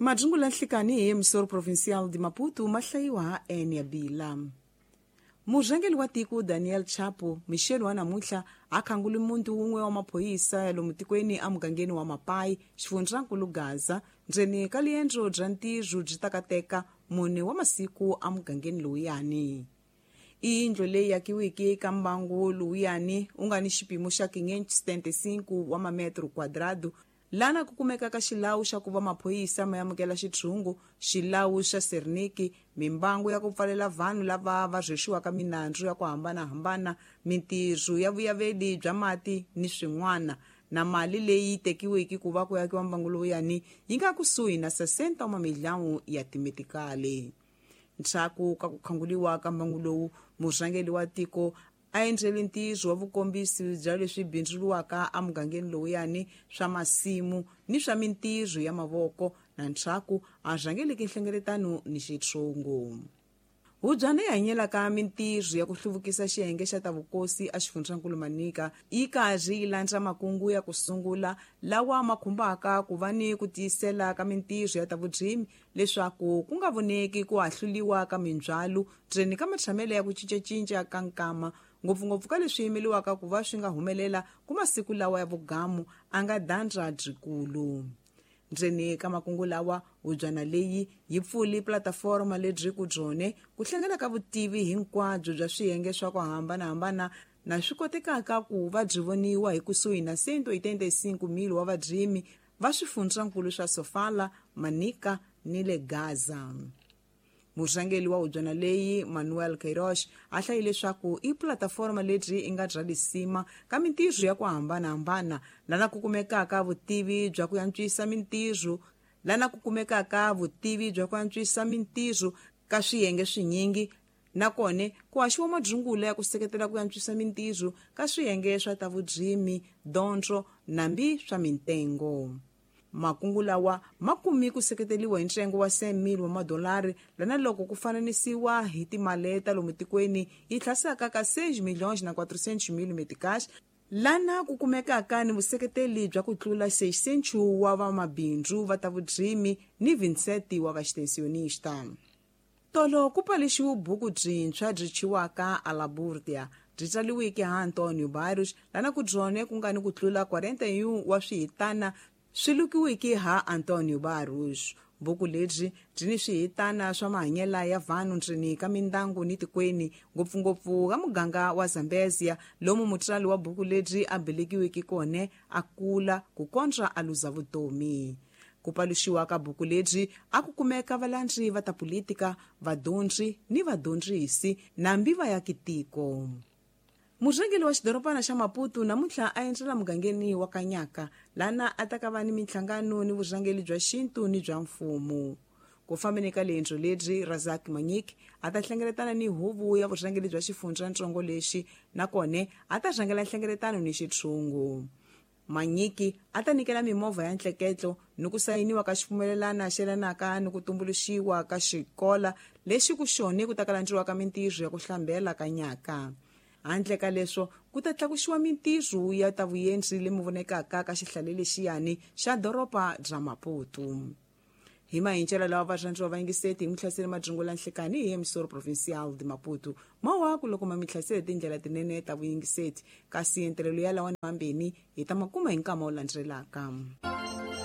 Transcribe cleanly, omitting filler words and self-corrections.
Madungula nhlikani hi emissora provincial de Maputo ma hlayiwa ha Enia Bila. Murhangeri wa tiko Daniel Chapo Michel wa namuntlha a khangule muntu wun'we wa maphorisa ya lomu tikweni emugangeni wa Mapai, xifundzankulu Gaza, ndzeni ka liendro bya ntirho byi takateka mune wa masiku emugangeni lowuyani. I yindlu leyi akiweke eka mbangu lowuyani wu nga ni xipimo xa 575 wa mametro quadrado, lana ku kumekaka xilawu xa ku va maphorisa ma amukela xitshungu, xilawu xa Serniki, mimbangu ya ku pfalela vanhu lava va rhwexiwaka minandzu ya ku hambanahambana, mintirho ya vuyaveli bya mati ni swin'wana, na mali leyi tekiweke ku va ku akiwa mbangu lowuyani yi nga kusuhi na 60 wa mamiliyoni ya timetikali. Ndzhaku ka ku khanguliwa ka mbangu lowu, murhangeri wa tiko a endlele ntirho wa vukombisi bya leswi bindzuriwaka emugangeni lowuyani swa masimu ni swa mintirho ya mavoko, na ndzhaku a rhangeleke nhlengeletano ni xitshungu. Hubyana yi hanyelaka mintirho ya ku hluvukisa xiyenge xa ta vukosi exifundzankulu Manica yi karhi yi landza makungu ya ku sungula lawa ma khumbaka ku va ni ku tiyisela ka mintirho ya ta vurimi leswaku ku nga voneki ku ahluliwa ka mindzhwalo ndzeni ka matshamelo ya ku cincacinca ka nkama, ngopfungopfu ka leswi yimeliwaka ku va swi nga humelela ku masiku lawa ya vugamu a nga dandza byikulu. Ndzeni ka makungu lawa, hubyana leyi yi pfuli plataforma lebyi ku byone ku hlangana ka vutivi hinkwabyo bya swiyenge swa ku hambanahambana na swi kotekaka ku va byi voniwa hi kusuhi na 185,000 wa varimi va swifundzankulu swa Sofala, Manica ni le Gaza. Murhangeri wa hubyana leyi Manuel Queiroz a hlayi leswaku i plataforma lebyi i nga bya lisima ka mintirho ya ku hambanahambana lana ku kumekaka vutivi bya ku antswisa mintirho lana ku kumekaka vutivi bya ku antswisa mintirho ka swiyenge swinyingi, nakona ku haxiwa madzungula ya ku seketela ku antswisa mintirho ka swiyenge swa ta vurimi, dyondzo nambi swa mintengo. Makungu lawa ma kumi ku seketeriwa hi ntsengo wa $100,000 wa madolari, lana loko ku fananisiwa hi timali ta lomu tikweni yi tlhasaka ka 6,400,000 meticais, lana ku kumekaka ni vuseketeli bya ku tlula 600 wa vamabindzu va ta vurimi ni 27 wa vaextensionista. Tolo ku paluxiwe buku byintshwa byi thyiwaka Alaburdia, byi tsariweke ha Antonio Barros, lana ku byone ku nga ni ku tlula 41 wa swihitana swi lukiweke ha Antonio Barros. Buku lebyi byi ni swihitana swa mahanyelo ya vanhu ndzeni ka mindyangu ni tikweni, ngopfungopfu ka muganga wa Zambezia, lomu mutsari wa buku lebyi a velekiweke kona a kula ku kondza a luza vutomi. Ku paluxiwa ka buku lebyi a ku kumeka valandzi va ta politika, vadyondzi ni vadyondzisi nambi vaakitiko. Murhangeri wa xidorobana xa Maputo namuntlha a endzela mugangeni wa Kanyaka, lana a ta ka va ni minhlangano ni vurhangeri bya xintu ni bya mfumo. Ku fambeni ka liendzo lebyi, Razak Manyik a ta hlengeletana ni huvo ya vurhangeri bya xifundzatsongo lexi, nakona a ta rhangela nhlengeletano ni xitshungu. Manyiki a ta nyikela mimovha ya ntleketlo ni ku sayiniwa ka xipfumelelana xelanaka ni ku tumbuluxiwa ka xikola lexi ku xone ku ta kalandziwa ka mintirho ya ku hlambela Kanyaka. Handle ka leswo, ku ta tlakuxiwa mintirho ya ta vuyendzi lemi vonekaka ka xihlale lexiyani xa doroba bya Maputo. Hi mahincelo lawa varhandziwa va yingiseti hi mihlaseli madzungula nhlekani hi emissora provincial de Maputo. Mawaku loko ma mihlaseli tindlela tinene ta vuyingiseti, kasi entirhelo ya lawa mambeni hi ta makuma hi nkama wu landzelaka.